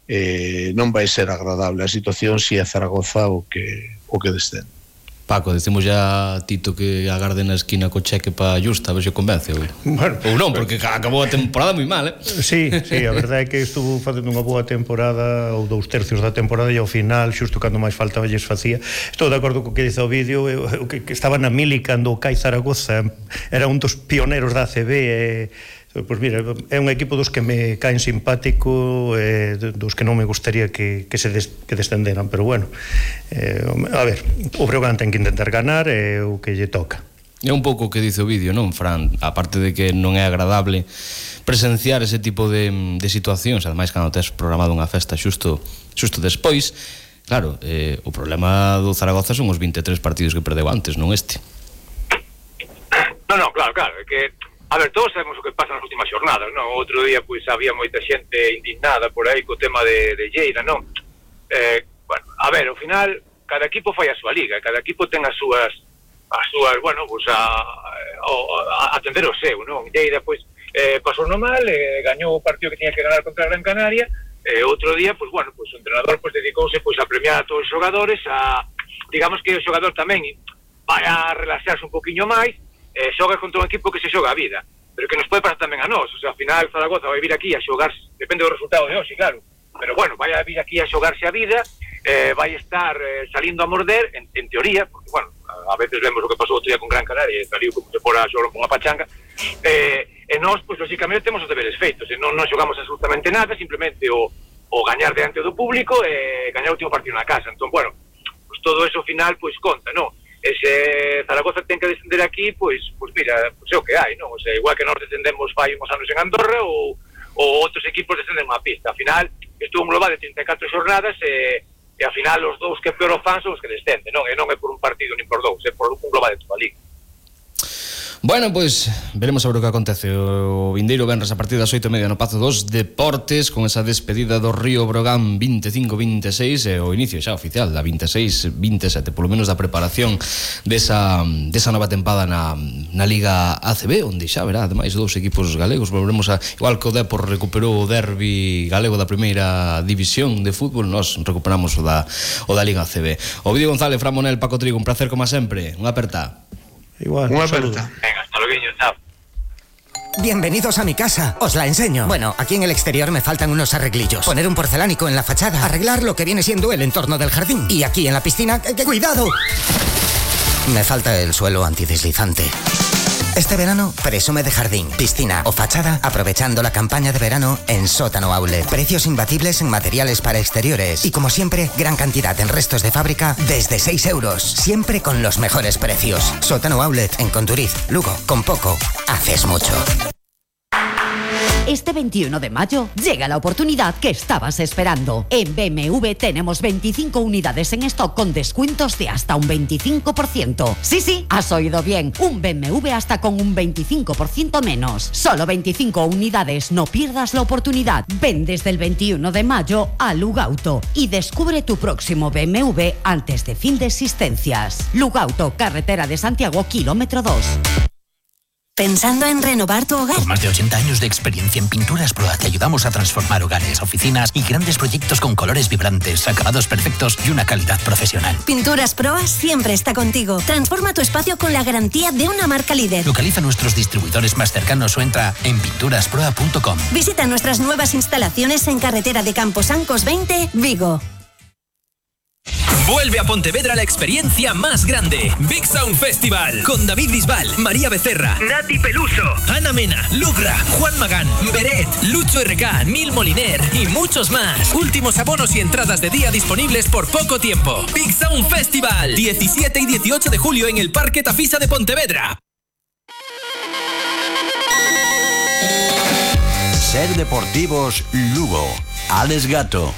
non vai ser agradable a situación se é Zaragoza o que descende. Paco, decimos ya a Tito que agarde na esquina co cheque para Justa, a ver se convence ou non, porque acabou a temporada moi mal, Sí, a verdade é que estuvo facendo unha boa temporada, ou 2/3 da temporada, e ao final, xusto cando máis faltaba lles facía. Estou de acordo co que dice o vídeo, que estaba na mili cando o CAI Zaragoza era un dos pioneros da ACB, pois mira, é un equipo dos que me caen simpático, dos que non me gustaría que descenderan, pero bueno, a ver, o Breogán ten que intentar ganar, é o que lle toca. É un pouco o que dice o vídeo, non, Fran? Aparte de que non é agradable presenciar ese tipo de situacións, ademais cando tes programado unha festa xusto despois, claro, o problema do Zaragoza son os 23 partidos que perdeu antes, non este. Non, claro, é que a ver, todos sabemos o que pasa nas últimas xornadas, non? Outro día, pois, había moita xente indignada por aí co tema de Lleida, non? Bueno, a ver, ao final, cada equipo fai a súa liga, cada equipo ten as súas, bueno, pois, a atender o seu, non? Lleida, pois, pasou no mal, gañou o partido que tiña que ganar contra Gran Canaria, outro día, pois, bueno, pois, o entrenador, pois, dedicouse, pois, a premiar a todos os xogadores, digamos que o xogador tamén vai a relaxarse un poquinho máis, xoga contra un equipo que se xoga a vida, pero que nos pode pasar tamén a nós, o sea, ao final Zaragoza vai vir aquí a xogarse, depende do resultado de hoxe, claro, pero bueno, vai a vir aquí a xogarse a vida, vai estar salindo a morder, en teoría, porque bueno, a veces vemos o que pasou outro día con Gran Canaria, saliu como se fora a xogar con unha pachanga, e nós, pois, lógicamente, temos os deberes feitos, e non xogamos absolutamente nada, simplemente o gañar diante do público e gañar o último partido na casa, entón, bueno, pois todo eso ao final, pois, conta, non? E se Zaragoza ten que descender aquí, pois mira, pois é o que hai, non? O sea, igual que nós descendemos fai uns anos en Andorra ou outros equipos descenden unha pista. Ao final, estuvo un global de 34 xornadas e ao final os dous que peor o fan son os que descenden, non? E non é por un partido nin por dous, é por un global de toda a liga. Bueno, pois veremos sobre o que acontece o vindeiro venres a partir das 8:30 no Pazo dos Deportes, con esa despedida do Río Breogán 25-26 e o inicio xa oficial da 26-27, polo menos da preparación desa nova tempada na Liga ACB, onde xa verá ademais dous equipos galegos. Volveremos a, igual que o Depor recuperou o derbi galego da primeira división de fútbol, nós recuperamos o da Liga ACB. Ovidio González, Fran Monel, Paco Trigo, un placer como sempre, unha aperta. Igual, Unha aperta. Venga, hasta luego, chao. Bienvenidos a mi casa, os la enseño. Bueno, aquí en el exterior me faltan unos arreglillos. Poner un porcelánico en la fachada, arreglar lo que viene siendo el entorno del jardín. Y aquí en la piscina, ¡cuidado! Me falta el suelo antideslizante. Este verano, presume de jardín, piscina o fachada, aprovechando la campaña de verano en Sótano Outlet. Precios imbatibles en materiales para exteriores. Y como siempre, gran cantidad en restos de fábrica desde 6 euros. Siempre con los mejores precios. Sótano Outlet en Conturiz, Lugo. Con poco, haces mucho. Este 21 de mayo llega la oportunidad que estabas esperando. En BMW tenemos 25 unidades en stock con descuentos de hasta un 25%. Sí, has oído bien. Un BMW hasta con un 25% menos. Solo 25 unidades, no pierdas la oportunidad. Ven desde el 21 de mayo a Lugauto y descubre tu próximo BMW antes de fin de existencias. Lugauto, carretera de Santiago, kilómetro 2. ¿Pensando en renovar tu hogar? Con más de 80 años de experiencia en Pinturas Proa te ayudamos a transformar hogares, oficinas y grandes proyectos con colores vibrantes, acabados perfectos y una calidad profesional. Pinturas Proa siempre está contigo. Transforma tu espacio con la garantía de una marca líder. Localiza nuestros distribuidores más cercanos o entra en pinturasproa.com. Visita nuestras nuevas instalaciones en carretera de Camposancos 20, Vigo. Vuelve a Pontevedra la experiencia más grande. Big Sound Festival. Con David Bisbal, María Becerra, Nati Peluso, Ana Mena, Lugra, Juan Magán, Beret, Lucho RK, Nil Moliner y muchos más. Últimos abonos y entradas de día disponibles por poco tiempo. Big Sound Festival. 17 y 18 de julio en el Parque Tafisa de Pontevedra. Ser Deportivos Lugo. Alex Gato.